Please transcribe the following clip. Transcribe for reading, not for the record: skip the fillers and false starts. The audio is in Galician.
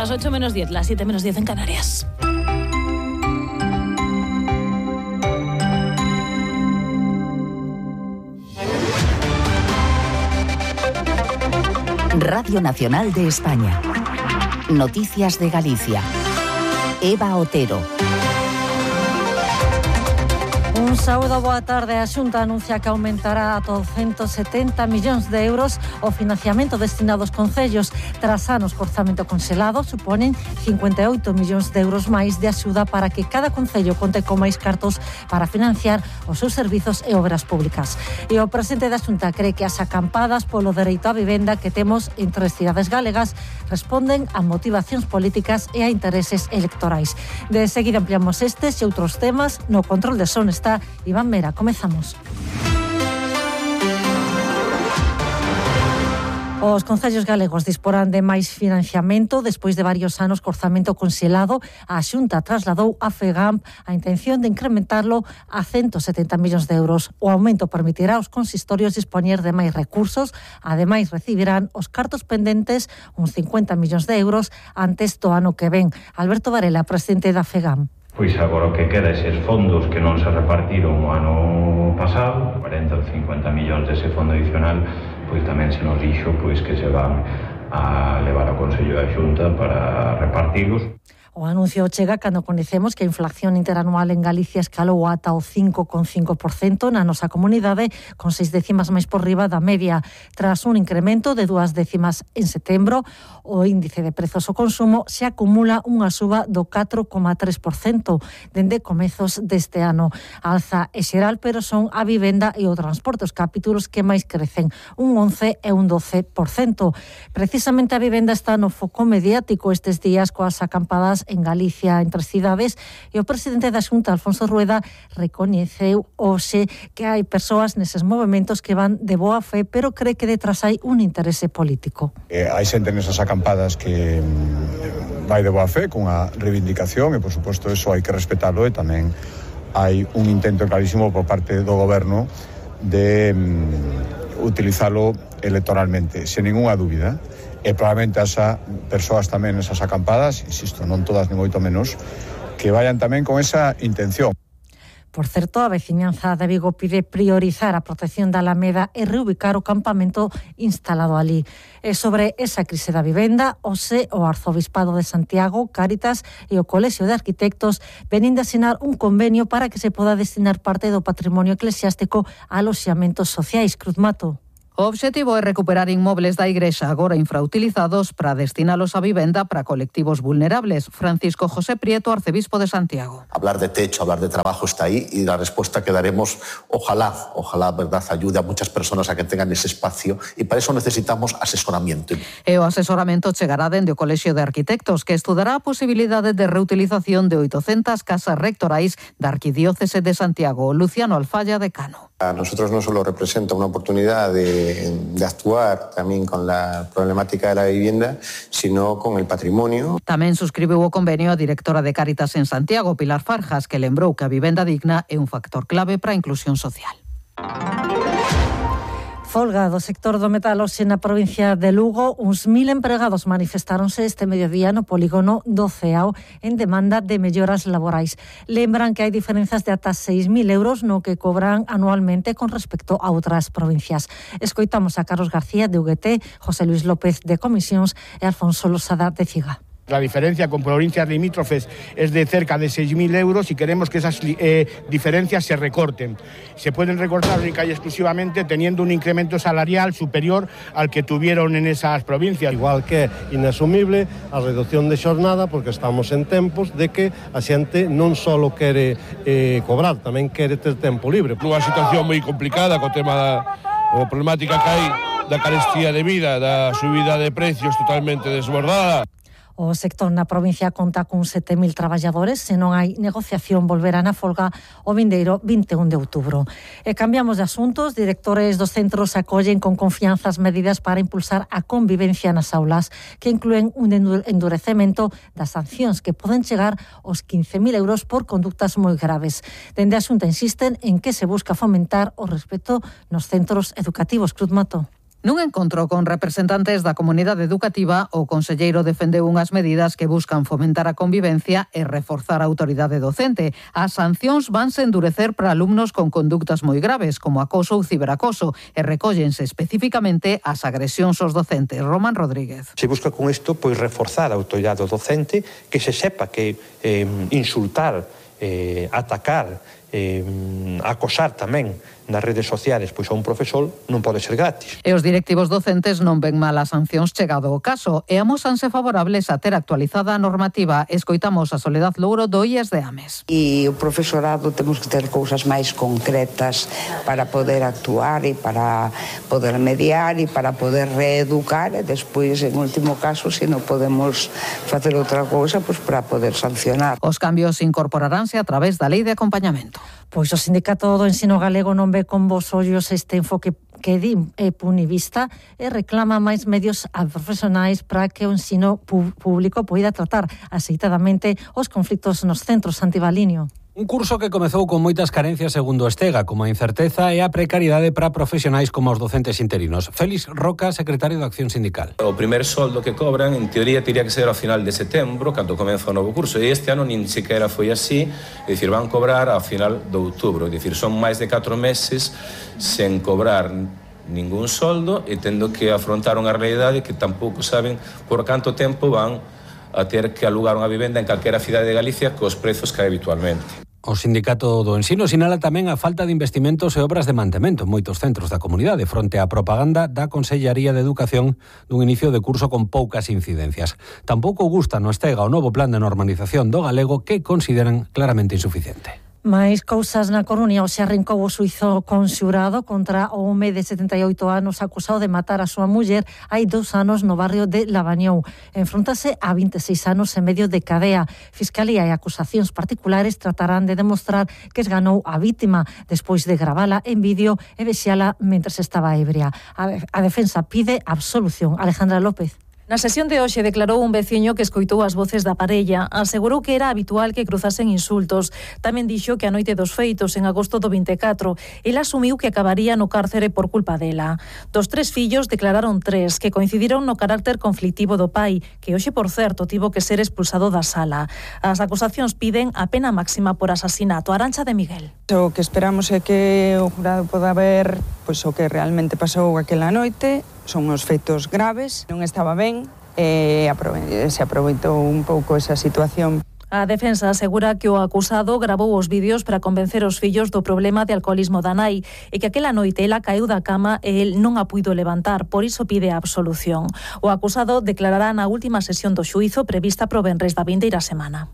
las 8 menos 10, las 7 menos 10 en Canarias. Radio Nacional de España. Noticias de Galicia. Eva Otero. Un sábado, boa tarde. A Xunta anuncia que aumentará a 270 millóns de euros o financiamento destinado aos concellos. Tras anos co orzamento conxelado, suponen 58 millóns de euros máis de axuda para que cada concello conte con máis cartos para financiar os seus servizos e obras públicas. E o presidente da Xunta cree que as acampadas polo dereito á vivenda que temos en 3 cidades galegas responden a motivacións políticas e a intereses electorais. De seguida ampliamos estes e outros temas. No control de son está Iván Mera. Comezamos. Os concellos galegos disporán de máis financiamento despois de varios anos co orzamento conxelado. A Xunta trasladou a FEGAMP a intención de incrementarlo a 170 millóns de euros. O aumento permitirá aos consistorios dispoñer de máis recursos. Ademais, recibirán os cartos pendentes, uns 50 millóns de euros, antes do ano que ven. Alberto Varela, presidente da FEGAMP. Pois agora o que queda eses fondos que non se repartiron o ano pasado, 40 ou 50 millóns dese fondo adicional, pois tamén se nos dixo pois que se van a levar ao Consello da Xunta para repartilos. O anuncio chega cando coñecemos que a inflación interanual en Galicia escalou ata o 5,5% na nosa comunidade, con 6 décimas máis por riba da media. Tras un incremento de 2 décimas en setembro, o índice de prezos ao consumo se acumula unha suba do 4,3% dende comezos deste ano. A alza é xeral, pero son a vivenda e o transporte os capítulos que máis crecen, un 11 e un 12%. Precisamente a vivenda está no foco mediático estes días coas acampadas en Galicia entre cidades, e o presidente da Xunta, Alfonso Rueda, recoñeceu hoxe que hai persoas neses movementos que van de boa fe, pero cree que detrás hai un interese político. Hai xente nesas acampadas que vai de boa fe cunha reivindicación e, por suposto, eso hai que respetalo, e tamén hai un intento clarísimo por parte do goberno de utilizalo electoralmente, sen ninguna dúbida. E probablemente as persoas tamén nesas acampadas, insisto, non todas ni moito menos, que vayan tamén con esa intención. Por certo, a veciñanza de Vigo pide priorizar a protección da Alameda e reubicar o campamento instalado ali. E sobre esa crise da vivenda, hoxe o Arzobispado de Santiago, Cáritas e o Colexio de Arquitectos venin de asinar un convenio para que se poda destinar parte do patrimonio eclesiástico a aloxamentos sociais. Cruz Mato. O obxectivo é recuperar inmobles da Igrexa agora infrautilizados para destinalos a vivenda para colectivos vulnerables. Francisco José Prieto, arcebispo de Santiago. Hablar de techo, hablar de trabajo está ahí, y la respuesta que daremos, ojalá, verdad, ayude a muchas personas a que tengan ese espacio, y para eso necesitamos asesoramiento. E o asesoramento chegará dende o Colexio de Arquitectos, que estudará a posibilidade de reutilización de 800 casas rectorais da Arquidiócese de Santiago. Luciano Alfaya, decano. A nosotros no solo representa una oportunidad de actuar también con la problemática de la vivienda, sino con el patrimonio. Tamén suscribiu o convenio a directora de Cáritas en Santiago, Pilar Farjas, que lembrou que a vivenda digna é un factor clave para a inclusión social. Folga do sector do metal hoxe na provincia de Lugo. Uns 1000 empregados manifestáronse este mediodía no polígono do Ceao en demanda de melloras laborais. Lembran que hai diferenzas de ata 6.000 euros no que cobran anualmente con respecto a outras provincias. Escoitamos a Carlos García de UGT, José Luis López de Comisións e Alfonso Losada de CIGA. La diferencia con provincias limítrofes es de cerca de 6.000 euros y queremos que esas diferencias se recorten. Se pueden recortar única y exclusivamente teniendo un incremento salarial superior al que tuvieron en esas provincias. Igual que é inasumible a reducción de xornada, porque estamos en tempos de que a xente non só quere cobrar, tamén quere ter tempo libre. Unha situación moi complicada co tema da problemática que hai da carestía de vida, da subida de precios totalmente desbordada. O sector na provincia conta con 7.000 traballadores. Se non hai negociación, volverán a folga o vindeiro 21 de outubro. E cambiamos de asuntos. Directores dos centros acollen con confianza as medidas para impulsar a convivencia nas aulas, que incluen un endurecemento das sancións que poden chegar aos 15.000 euros por conductas moi graves. Dende a Xunta insisten en que se busca fomentar o respeto nos centros educativos. Cruz Mato. Nun encontro con representantes da comunidade educativa, o conselleiro defendeu unhas medidas que buscan fomentar a convivencia e reforzar a autoridade docente. As sancións vanse endurecer para alumnos con conductas moi graves, como acoso ou ciberacoso, e recóllense especificamente as agresións aos docentes. Román Rodríguez. Se busca con isto reforzar a autoridade docente, que se sepa que insultar, atacar, acosar tamén nas redes sociales a un profesor non pode ser gratis. E os directivos docentes non ven mal as sancións chegado o caso e amósanse favorables a ter actualizada a normativa. Escoitamos a Soledad Louro do IES de Ames. E o profesorado temos que ter cousas máis concretas para poder actuar e para poder mediar e para poder reeducar e despois, en último caso, se non podemos facer outra cousa, para poder sancionar. Os cambios incorporaránse a través da lei de acompañamento. Pois o Sindicato do Ensino Galego non ve con bos ollos este enfoque que di punivista e reclama máis medios a profesionais para que o ensino público poida tratar axeitadamente os conflitos nos centros. Antibalinio. Un curso que comezou con moitas carencias segundo Estega, como a incerteza e a precariedade para profesionais como os docentes interinos. Félix Roca, secretario de Acción Sindical. O primer soldo que cobran, en teoría, teria que ser ao final de setembro, cando comeza o novo curso. E este ano nin sequera foi así, é dicir, van cobrar ao final de outubro. É dicir, son máis de 4 meses sen cobrar ningún soldo e tendo que afrontar unha realidade que tampouco saben por canto tempo van a ter que alugar unha vivenda en calquera cidade de Galicia cos prezos que hai habitualmente. O Sindicato do Ensino sinala tamén a falta de investimentos e obras de mantemento en moitos centros da comunidade fronte á propaganda da Consellería de Educación dun inicio de curso con poucas incidencias. Tampouco gusta no Estega o novo plan de normalización do galego que consideran claramente insuficiente. Mais cousas na Coruña. Hoxe arrancou o xuízo conxurado contra o home de 78 anos acusado de matar a súa muller hai 2 anos no barrio de Lavañou. Enfróntase a 26 anos e medio de cadea. Fiscalía e acusacións particulares tratarán de demostrar que esganou a vítima despois de gravala en vídeo e vexala mentres estaba ebria. A defensa pide absolución. Alejandra López. Na sesión de hoxe declarou un veciño que escoitou as voces da parella. Asegurou que era habitual que cruzasen insultos. Tamén dixo que a noite dos feitos, en agosto do 24, el asumiu que acabaría no cárcere por culpa dela. Dos 3 fillos declararon 3, que coincidiron no carácter conflictivo do pai, que hoxe, por certo, tivo que ser expulsado da sala. As acusacións piden a pena máxima por asasinato. Arancha de Miguel. O que esperamos é que o jurado poda ver o que realmente pasou aquela noite. Son uns feitos graves, non estaba ben e se aproveitou un pouco esa situación. A defensa asegura que o acusado gravou os vídeos para convencer os fillos do problema de alcoholismo da nai e que aquela noite ela caeu da cama e el non a puido levantar, por iso pide a absolución. O acusado declarará na última sesión do xuízo prevista pro venres da vindeira semana.